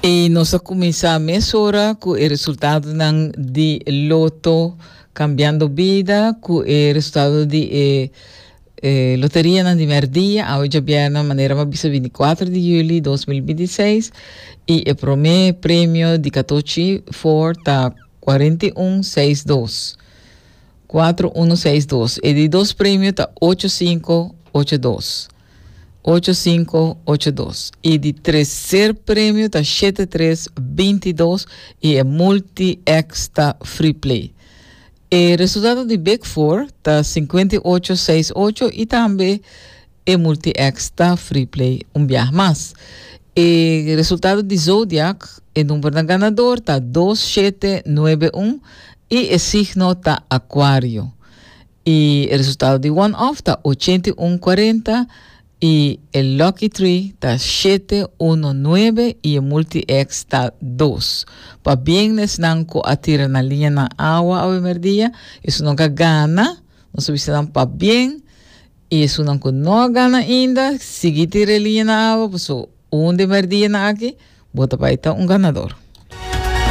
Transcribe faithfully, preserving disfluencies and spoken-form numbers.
I nos a kuminsá mesora ku e resultadonan di Lotto Kambiando Bida, ku e resultado di e, e loterianan di merdia, awe djabièrnè, manera m'a bisa, binti kuater di yüli dos mil binti seis, i e promé premio di Katochi kuater ta kuater un seis dos. kuater un seis dos. E di dos premio ta ocho sinku ocho dos. ocho sinku ocho dos. E di terser premio ta shete tres binti dos i e multi-X ta free play. E resultado di Big Four ta sinku ocho seis ocho i tambe e multi-X ta free play un biaha mas. E resultado di Zodiac, e number ganadó ta dos shete nuebe un i e signo ta Aquario. E resultado di One Off ta ocho un kuater i e Lucky Three ta shete un nuebe i e Multi-X ta dos. Pabien na esnan ku a tira nan liña na awa awe merdia, esnan ku a gana, nos ta bisa nan pabien, i esnan ku no a gana ainda, sigui tira liña na awa, paso un di merdia nan aki, bo ta bai ta un ganadó.